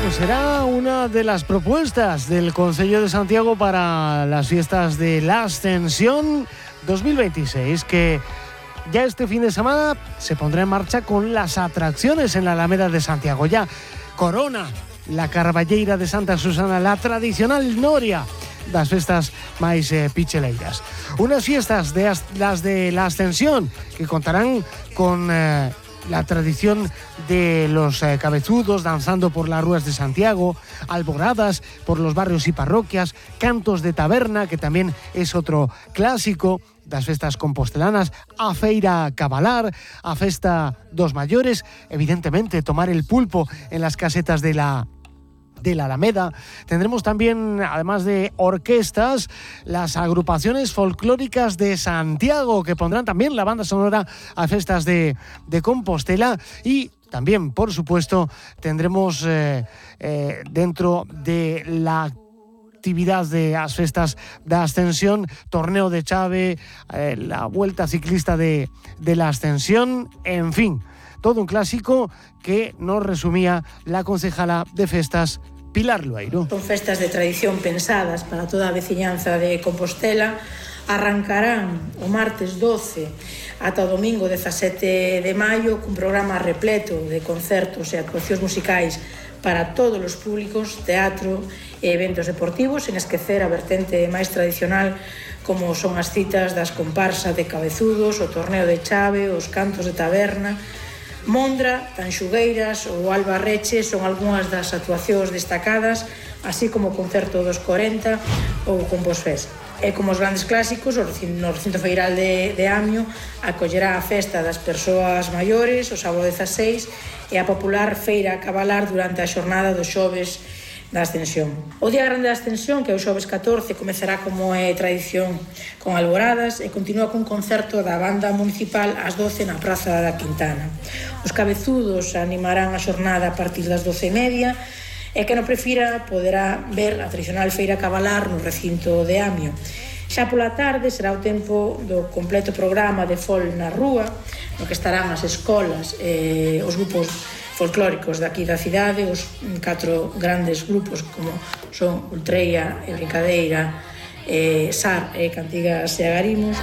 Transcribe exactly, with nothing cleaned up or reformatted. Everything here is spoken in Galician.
pues será una de las propuestas del Concello de Santiago para las fiestas de la Ascensión dos mil veintiséis, que ya este fin de semana se pondrá en marcha con las atracciones en la Alameda de Santiago. Ya corona la Carballeira de Santa Susana, la tradicional noria das festas máis eh, picheleiras. Unas fiestas de as, las de la Ascensión que contarán con eh, la tradición de los eh, cabezudos danzando por las ruas de Santiago, alboradas por los barrios y parroquias, cantos de taberna, que también es otro clásico das festas compostelanas, a feira cabalar, a festa dos maiores, evidentemente tomar el pulpo en las casetas de la de la Alameda. Tendremos también, además de orquestas, las agrupaciones folclóricas de Santiago, que pondrán también la banda sonora a festas de, de Compostela. Y también, por supuesto, tendremos eh, eh, dentro de la actividad de las festas de Ascensión, torneo de chave, eh, la vuelta ciclista de, de la Ascensión, en fin, todo un clásico que nos resumía la concejala de festas, Pilar Lueiro. Son festas de tradición pensadas para toda a veciñanza de Compostela. Arrancarán o martes doce ata o domingo dezasete de maio cun programa repleto de concertos e actuacións musicais para todos os públicos, teatro e eventos deportivos, sen esquecer a vertente máis tradicional como son as citas das comparsas de cabezudos, o torneo de chave, os cantos de taberna. Mondra, Tanxugueiras ou Albarreche son algunhas das actuacións destacadas, así como o concerto dos corenta ou o Composfest. E como os grandes clásicos, o recinto, no recinto feiral de, de Amio acollerá a festa das persoas maiores o sábado dezaseis e a popular feira cabalar durante a xornada dos xoves da Ascensión. O Día Grande da Ascensión, que é o xoves catorce, comezará como é tradición con alboradas e continúa cun concerto da banda municipal ás doce na Praza da Quintana. Os cabezudos animarán a xornada a partir das doce e media e que non prefira poderá ver a tradicional feira cabalar no recinto de Amio. Xa pola tarde será o tempo do completo programa de fol na rúa, no que estarán as escolas e os grupos folclóricos daqui da cidade, os catro grandes grupos como son Ultreia e Brincadeira, eh, Sar e Cantigas e Agarimos.